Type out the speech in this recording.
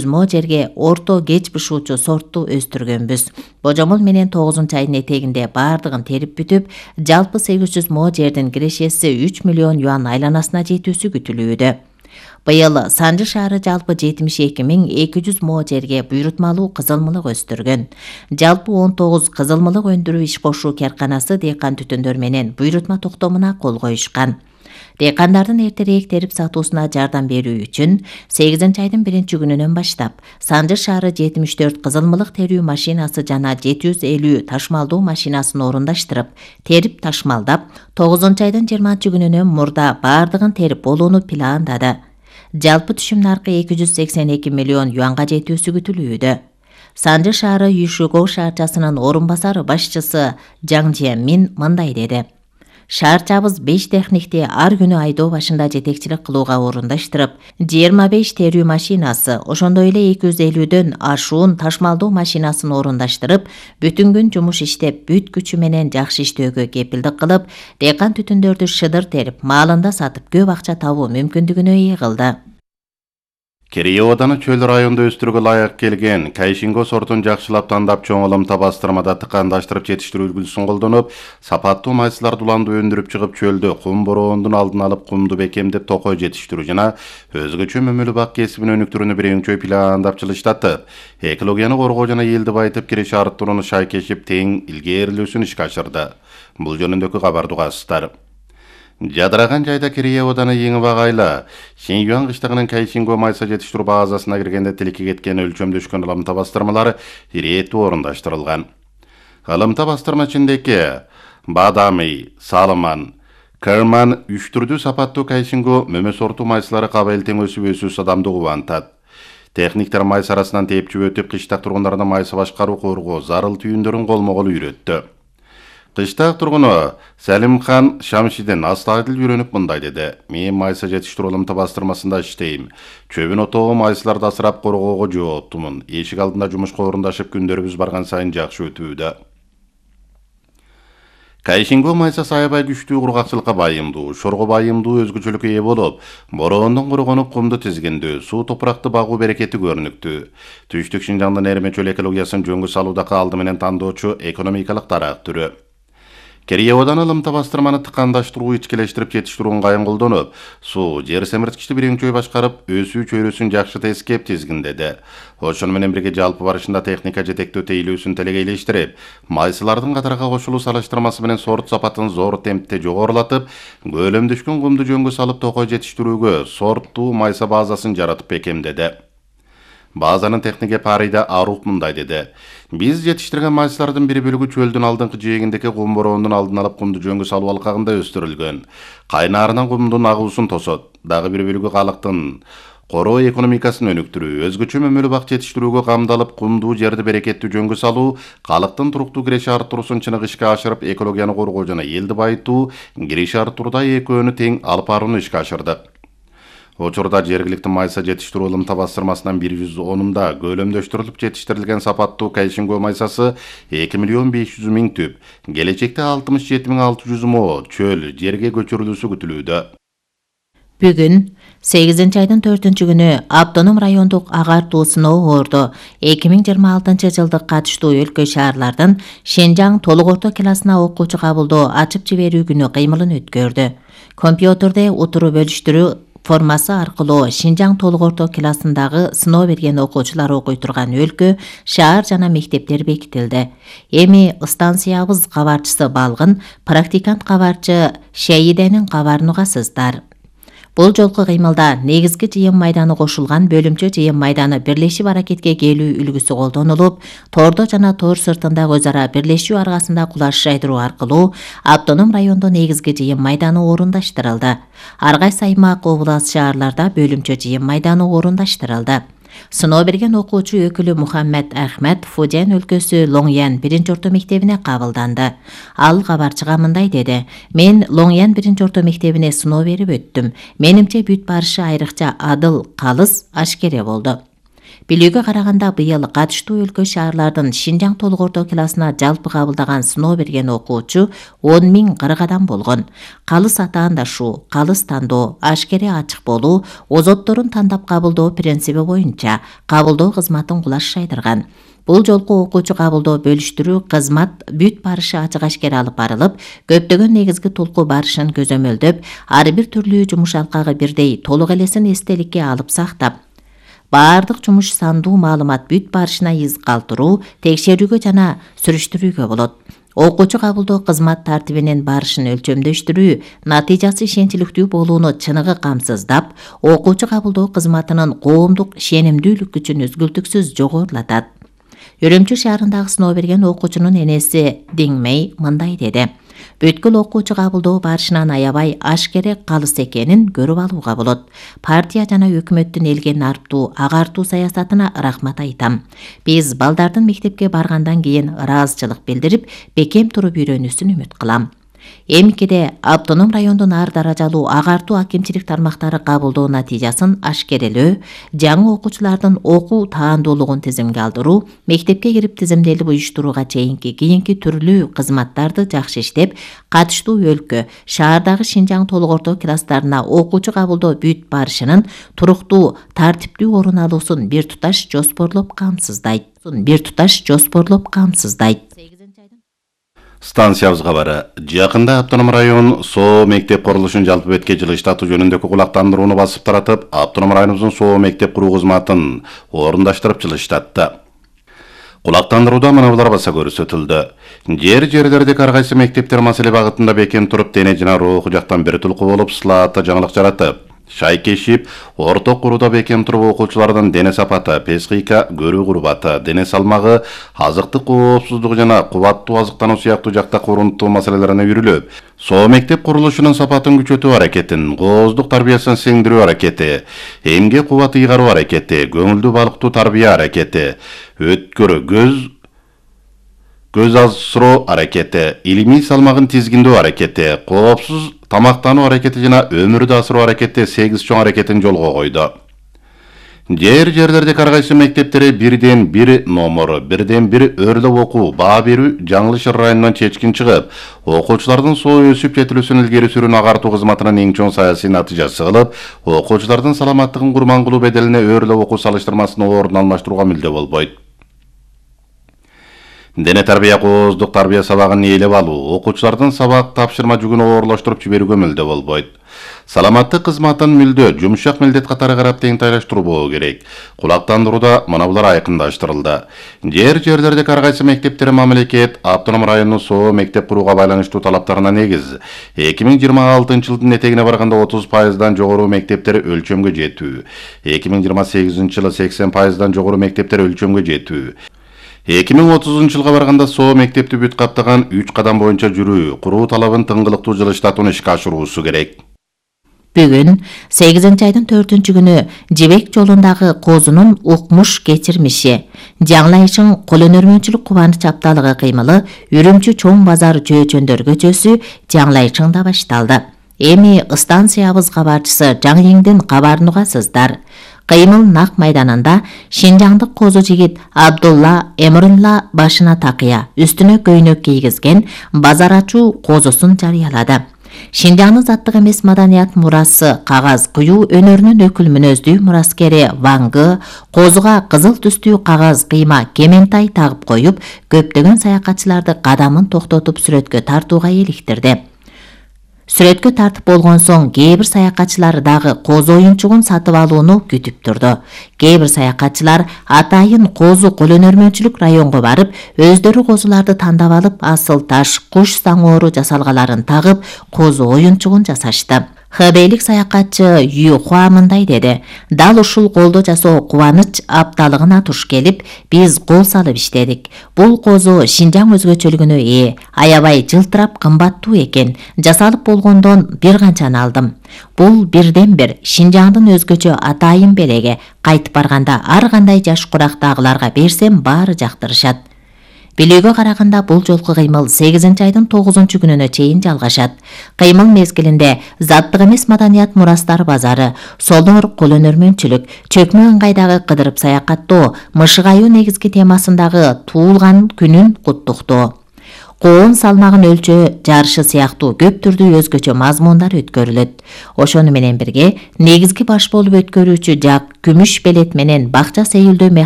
мо жерге орто кеч бышуучу сортту өстүргөнбүз. Божомол менен 9-айдын этегинде бардыгын терип бүтүп, жалпы 800 мо жердин кирешеси 3 миллион юан айланасына жетүүсү күтүлүүдө. Быйыл Санжы шаары жалпы 72.200 мо жерге буйрутмалуу кызылмылык өстүргөн. Жалпы 19 кызылмылык өндүрүү иш кошуу карканасы дыйкан түтүндөр менен буйрутма токтомуна кол коюшкан. Дыйкандардын эртерээк терип сатуусуна жардам берүү үчүн 8-айдын 1-күнүнөн баштап Санжы шаары 74 кызылмылык терүү машинасы жана 750 ташмалдоо машинасын орундаштырып, терип ташмалдап, 9-айдын 20-күнүнөн мурда бардыгын терип болууну пландады. Жалпы түшүм наркы 282 миллион юанга жетүүсү күтүлүүдө. Санжы шаары Юшугоу шаарчасынын орун басары башчысы Жаң Жиэмин мындай деди. Шаарчабыз 5 техникти ар күнү айдоо башында жетекчилик кылууга орундаштырып, 25 терүү машинасы, ошондой эле 250дөн ашуун ташмалдоо машинасын орундаштырып, бүтүн күн жумуш иштеп, бүт күчү менен жакшы иштөөгө кепилдик кылып, дыйкан түтүндөрдү шыдыр терип, маалында сатып көп акча табуу мүмкүндүгүнө ээ кылды. Керие ооданы чөл районда өстүрүүгө ылайык келген Кайшинго сортун жакшылап тандап чоң ылымта бастырмада тыкандаштырып жетиштирүү үлгүсүн колдонуп, сапаттуу майсыларды уланды өндүрүп чыгып чөлдө кум бороондун алдын алып кумду бекемдеп токой жетиштирүү жана өзгөчө мөмөлүү бак кесибин өнүктүрүүнү биринчи пландап жылыштатып, экологияны коргоо жана элди байытып киреше арттырууну шайкешип тең илгээрилүүсүн ишке ашырды. Бул жөнүндөгү кабарды угасыздар. Жадыраган жайда Керие ооданы эң багайлы Шинюан кыштыгынын Кайшинго майса жетиштирүү базасына киргенде тилекке кеткен өлчөмдөшкөн ылымта бастырмалары ирээттүү орундаштырылган. Ылымта бастырма ичиндеги Бадами, Салман, Керман 3 түрдүү сапаттуу Кайшинго мөмө сорту майсалары кабыл тең өсүп адамды кубантат. Техниктер майса арасынан тепчип өтүп, кыштак тургундарына майса башкаруу коргоо зарыл түйүндөрүн колмо-кол үйрөттү. Кыштак тургуну Салимхан Шамшиден астайдыл үйрөнүп мындай деди. Мен майса жетиштирүү ылымта бастырмасында иштейм. Чөбүн отоо майсаларды асырап коргоого жооптумун. Эшик алдында жумушка орундашып күндөрүбүз барган сайын жакшы өтүүдө. Кайшинго майсасы аябай күчтүү кургакчылыкка байымдуу, шорго байымдуу өзгөчөлүккө ээ болуп, бороондон коргонуп кумду тизгиндүү, суу топуракты багуу берекети көрүнүктүү. Түштүк Шинжаңдын эрме чөл экологиясын жөнгө салуудагы алды менен тандоочу экономикалык дарак түрү. Керие ооданы ылымта бастырманы тыкандаштыруу ичкелештирип жетиштирүүнү кайын колдонуп, суу жер семирткичти биринчи башкарып, өсүү чөйрөсүн жакшы тескеп тизгиндеди. Ошону менен бирге жалпы барышында техника жетектөө тейлөөсүн телегейлештирип, майсылардын катарга кошулуу салыштырмасы менен сорт сапатын зор темпте жогорулатып, көлөмдөшкөн кумду жөнгө салып токой жетиштирүүгө сорттуу майса базасын жаратып бекемдеди. Базанын технике Парида Аруп мындай деди. Биз жетиштирген майсалардын бир бөлүгү чөлдүн алдыңкы жээгиндеги кум бороондун алдын алып кумду жөнгө салуу алкагында өстүрүлгөн. Кайнаарынан кумдун агуусун тосот. Дагы бир бөлүгү калыктын короо экономикасын өнүктүрүү, өзгөчө мөмөлүү бак жетиштирүүгө камдалып, кумдуу жерди берекеттүү жөнгө салуу, калыктын туруктуу киреше арттыруусун чыныгы ишке ашырып, экологияны коргоо жана элди байытуу, киреше арттырууда экөөнү тең алып барууну ишке ашырдык. Учурда жергиликтүү майса жетиштирүү ылымта бастырмасынан 110-да көлөмдөштүрүлүп жетиштирилген сапаттуу Кайшинго майсасы 2 миллион 500 миң түп, келечекте 67.600 мо чөл жерге көчүрүлүүсү күтүлүүдө. Бүгүн 8-айдын 4-күнү Автоном райондук агартуу сыноо орду 2026 жылдык катыштуу өлкө шаарлардын Шинжаң толук орто классына окуучу кабылдоо ачып жиберүү күнү кыймылын өткөрдү. Компьютерде утуру бөлүштүрүү формасы аркылуу Шинжаң толук орто классындагы сыноо берген окуучулар окуй турган өлкө, шаар жана мектептер бекитилди. Эми станциябыз кабарчысы Балгын, практикант кабарчы Шейиденин кабарын угасыздар. Бул жолку кыймылда негизги жыйын майданы кошулган бөлүмчө жыйын майданы бирлешип аракетке келүү үлгүсү колдонулуп, тордо жана тор сыртында өз ара бирлешүү аркасында кулаш жайдыруу аркылуу Автоном райондо негизги жыйын майданы орундаштырылды. Ар кайсы аймак, област, шаарларда бөлүмчө жыйын майданы орундаштырылды. Сыноо берген окуучу өкүлү Мухаммед Ахмед Фуден өлкөсү Лоңян 1-орто мектебине кабылданды. Ал кабарчыга мындай деди. Мен Лоңян 1-орто мектебине сыноо берип өттүм. Менимче бүт барышы айрыкча адыл, калыс, ашкере болду. Билүүгө караганда быйыл катыштуу өлкө шаарлардын Шинжаң толук орто классына жалпы кабылдаган сыноо берген окуучу 10.040 адам болгон. Калыс атаандашу, калыс тандоо, ашкере ачык болуу, озотторун тандап кабылдоо принциби боюнча кабылдоо кызматын кулаш шайдырган. Бул жолку окуучу кабылдоо бөлүштүрүү кызмат бүт барышы ачык ашкере алып барылып, көптөгөн негизги толку барышын көзөмөлдөп, ар бир түрлүү жумуш алкагы бирдей толук элесин эстеликке алып сактап, баардык жумуш сандуу маалымат бүт барышына из калтыруу, текшерүүгө жана сүрүштүрүүгө болот. Окуучу кабылдоо кызмат тартибинин барышын өлчөмдөштүрүү, натыйжасы ишенчиликтүү болууну чыныгы камсыздап, окуучу кабылдоо кызматынын коомдук ишенимдүүлүк күчүн үзгүлтүксүз жогорулатат. Үрүмчү шаарындагы сыноо берген окуучунун энеси Диңмей мындай деди: Бүткүл окуучу кабылдоо барышынан аябай ашкере калыс экенин көрүп алууга болот. Партия жана өкмөттүн элге нарптуу, агартуу саясатына рахмат айтам. Биз балдардын мектепке баргандан кийин ыраазычылык билдирип, бекем туруп үйрөнүүсүн үмүт кылам. Эмкиде автоном райондун ар даражалуу агартуу акимчилик тармактары кабылдоо натыйжасын ашкерелөө, жаңы окуучулардын окуу таандуулугун тизимге алдыруу, мектепке кирип тизимделип уюштурууга чейинки кийинки түрлүү кызматтарды жакшы иштеп, катыштуу өлкө, шаардагы Шинжаң толук орто класстарына окуучу кабылдоо бүт барышынын туруктуу, тартиптүү орун алуусун бир туташ жоспорлоп камсыздайт. Станциябыз кабары. Жакында автоном район СО мектеп курулушун жалпы бетке жылыштатуу жөнүндөгү кулактандырууну басып таратып, автоном районубуздун СО мектеп куруу кызматын орундаштырып жылыштатты. Кулактандырууда мына булар баса көрсөтүлдү. Жерлердеги ар кайсы мектептер маселе багытында бекем туруп, дене жана руху жактан бир тулку болуп, сылаатта жаңылык жаратып, шайкешип, орток курууда бекем туруп окуучулардын дене сапаты, психика, көрүү курбаты, дене салмагы, азыктык коопсуздугу жана кубаттуу азыктануу сыяктуу жакта урунттуу маселелерине үйрүлүп, СО мектеп курулушунун сапатын күчөтүү аракетин, кооздук тарбиясын сиңдирүү аракети, эмгек кубаты ыйгаруу аракети, көңүлдүү балыктуу тарбия аракети, өткөрүү көз азыроо аракети, илимий салмагын тизгиндөө аракети, коопсуз тамактануу аракети жана өмүрдү асыруу аракети 8 чоң аракетин жолго койду. Жерлердеги ар кайсы мектептери бирден бир номер, бирден бир өрлөп окуу, баа берүү Жаңылыш районунан чечкин чыгып, окуучулардын СО өсүп жетилүүсүн илгери сүрүүнү агартуу кызматынын эң чоң саясий натыйжасы кылып, окуучулардын саламаттыгын курман кылуу беделине өрлөп окуу салыштырмасынын ордун алмаштырууга мүлдө болбойт. Дене тарбия кооздук тарбия сабагын ээлеп алуу, окуучулардын сабак тапшырма жүгүн оорлоштуруп жиберүүгө мүлдө болбойт. Саламаттык кызматын мүлдө жумшак милдет катары карап теңтайлаштыруу болуу керек. Кулактандырууда мына булар айкындаштырылды. Жерлердеги ар кайсы мектептер мамлекет автоном районунун СО мектеп курууга байланыштуу талаптарына негиз 2026 жылдын этегине барганда 30%дан жогору мектептер өлчөмгө жетүү, 2028 жылы 80%дан жогору мектептер өлчөмгө жетүү, 2030 жылга барганда СО мектепти бүт каптаган 3 кадам боюнча жүрүү, куруу талабын тыңгылыктуу жылыштатууну ишке ашыруусу керек. Бүгүн 8-айдын 4-күнү Жибек жолундагы козунун укмуш кечирмиши, жаңылайышың кол өнөрмөнчүлүк кубаныч апталыгы кыймылы Үрүмчү чоң базар жөөчөндөр көчөсү жаңылайышыңда башталды. Эми станциябыз кабарчысы Жаңыйыңдын кабарын угасыздар. Кыймыл нак майданында шинжаңдык козу жигит Абдулла Эмрулла башына такыя, үстүнө көйнөк кийгизген базар ачуу козусун жарыялады. Шинжаңдын заттык эмес маданият мурасы кагаз куюу өнөрүнүн өкүл мүнөздүү мураскери Вангы козуга кызыл түстүү кагаз кыйма кементай тагып коюп, көптөгөн саякатчыларды кадамын токтотуп сүрөткө тартууга иликтирди. Сүрөткө тартып болгон соң кээ бир саякатчылар дагы козу оюнчугун сатып алууну күтүп турду. Кээ бир саякатчылар атайын козу кол өнөрмөнчүлүк районго барып, өздөрү козуларды тандап алып, асыл таш, куш саңоору жасалгаларын тагып, козу оюнчугун жасашты. Хбейлик саякатчы Юхуа мындай деди: "Дал ушул колдо жасоо кубаныч апталыгына туш келип, биз кол салып иштедик. Бул козу Шинжаң өзгөчөлүгүнө ээ, аябай жылтырап кымбаттуу экен. Жасалып болгондон бир канчаны алдым. Бул бирден бир Шинжаңдын өзгөчө атайын белеги. Кайтып барганда ар кандай жаш курактагыларга берсем баары жактырышат. Билүүгө караганда бул жолку кыймыл 8-айдын 9-күнүнө чейин жалгашат. Кыймыл мезгилинде заттык эмес маданият мурастары базары, солдор колөнөрмөнчүлүк, чөкмө ыңгайдагы кыдырып саякаттоо, мышык аюу негизги темасындагы туулган күнүн куттуктоо, коон салмагын өлчөө жарышы сыяктуу көп түрдүү өзгөчө мазмундар өткөрүлөт. Ошону менен бирге негизги баш болуп өткөрүүчү жак күмүш белет менен бакча сейилдөө